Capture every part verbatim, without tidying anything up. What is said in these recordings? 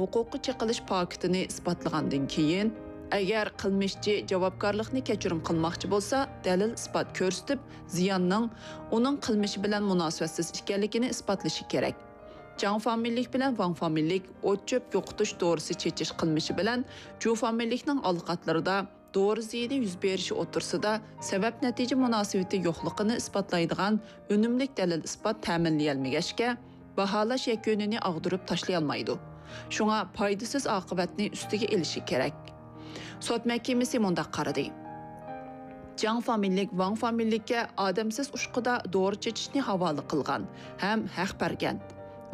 ھوقۇققا چېقىلىش پاكىتىنى ئىسپاتلىغاندىن كېيىن، ئەگەر قىلمىشچى جاۋابكارلىقنى كەچۈرۈم قىلماقچى بولسا، دەلىل-ئىسپات كۆرسىتىپ، زىياننىڭ ئۇنىڭ قىلمىشى بىلەن مۇناسىۋەتسىز ئىكەنلىكىنى ئىسپاتلىشى كېرەك. جاڭ فامىلىلىك بىلەن ۋاڭ فامىلىلىك ئوت-چۆپ يوقىتىش دورىسى چېچىش قىلمىشى بىلەن جۇ فامىلىلىكنىڭ ئالىقاتلىرىدا دورا زىيىنى يۈز بېرىشى ئوتتۇرىسىدا سەۋەب-نەتىجە مۇناسىۋىتى يوقلۇقىنى ئىسپاتلايدىغان ئۈنۈملۈك دەلىل-ئىسپات تەمىنلىيەلمىگەچكە، باھالاش يەكۈنىنى ئاغدۇرۇپ تاشلىيالمايدۇ. شۇڭا پايدىسىز ئاقىۋەتنى ئۈستىگە ئېلىشى كېرەك. سوت مەھكىمىسى مۇنداق قارىدى. جاڭ فامىلىلىك ۋاڭ فامىلىلىككە ئادەمسىز ئۇچقۇدا دورا چېچىشنى ھاۋالە قىلغان ھەم ھەق بەرگەن.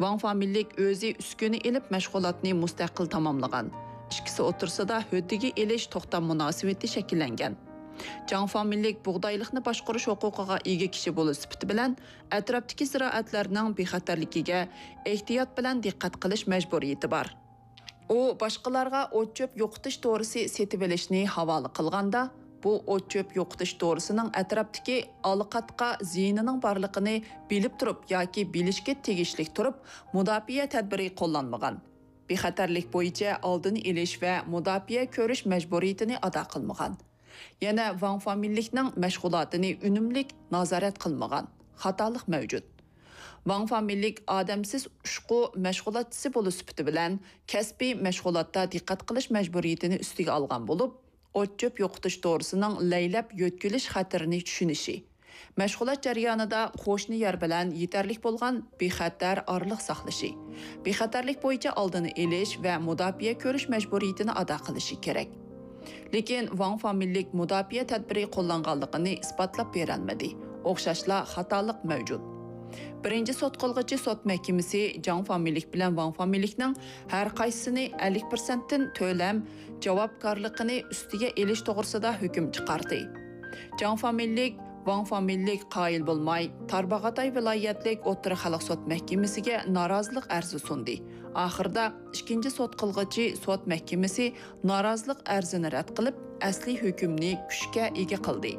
ۋاڭ فامىلىلىك ئۆزى ئۈسكۈنە ئېلىپ مەشغۇلاتنى مۇستەقىل تاماملىغان. ئىككىسى ئوتتۇرىسىدا ھۆددىگە ئېلىش توختام مۇناسىۋىتى شەكىللەنگەن. جاڭ فامىلىلىك بۇغدايلىقنى باشقۇرۇش ھوقۇقىغا ئىگە كىشى بولۇش سۈپىتى بىلەن ئەتراپتىكى زىرائەتلەرنىڭ بىخەتەرلىكىگە ئېھتىيات بىلەن دىققەت قىلىش مەجبۇرىيىتى بار. ئۇ باشقىلارغا ئوت-چۆپ يوقىتىش دورىسى سېتىۋېلىشنى ھاۋالە قىلغاندا، بۇ ئوت-چۆپ يوقىتىش دورىسىنىڭ ئەتراپتىكى ئالىقاتقا زىيىنىنىڭ بارلىقىنى بىلىپ تۇرۇپ ياكى بىلىشكە تېگىشلىك تۇرۇپ مۇداپىئە تەدبىرى قوللانمىغان. بىخەتەرلىك بويىچە ئالدىنى ئېلىش ۋە مۇداپىئە كۆرۈش مەجبۇرىيىتىنى ئادا قىلمىغان. يەنە ۋاڭ فامىلىلىكنىڭ مەشغۇلاتىنى ئۈنۈملۈك نازارەت قىلمىغان. خاتالىق مەۋجۇت. ۋاڭ فامىلىلىك ئادەمسىز ئۇچقۇ مەشغۇلاتچىسى بولۇش سۈپىتى بىلەن كەسپىي مەشغۇلاتتا دىققەت قىلىش مەجبۇرىيىتىنى ئۈستىگە ئالغان بولۇپ، ئوت-چۆپ يوقىتىش دورىسىنىڭ لەيلەپ يۆتكىلىش خەتىرىنى چۈشىنىشى، مەشغۇلات جەريانىدا قوشنا يەر بىلەن يېتەرلىك بولغان بىخەتەر ئارىلىق ساقلىشى، بىخەتەرلىك بويىچە ئالدىنى ئېلىش ۋە مۇداپىئە كۆرۈش مەجبۇرىيىتىنى ئادا قىلىشى كېرەك. لېكىن ۋاڭ فامىلىلىك مۇداپىئە تەدبىرى قوللانغانلىقىنى ئىسپاتلاپ بېرەلمىدى. ئوخشاشلا خاتالىق مەۋجۇت. بىرىنچى سوت قىلغۇچى سوت مەھكىمىسى جاڭ فامىلىلىك بىلەن ۋاڭ فامىلىلىكنىڭ ھەر قايسىسىنى ئەللىك پىرسەنتتىن تۆلەم جاۋابكارلىقىنى ئۈستىگە ئېلىش توغرىسىدا ھۆكۈم چىقاردى. جاڭ فامىلىلىك، ۋاڭ فامىلىلىك قايىل بولماي، تارباغاتاي ۋىلايەتلىك ئوتتۇرا خەلق سوت مەھكىمىسىگە نارازىلىق ئەرزى سۇندى. ئاخىرىدا ئىككىنچى سوت قىلغۇچى سوت مەھكىمىسى نارازىلىق ئەرزىنى رەت قىلىپ، ئەسلىي ھۆكۈمنى كۈچكە ئىگە قىلدى.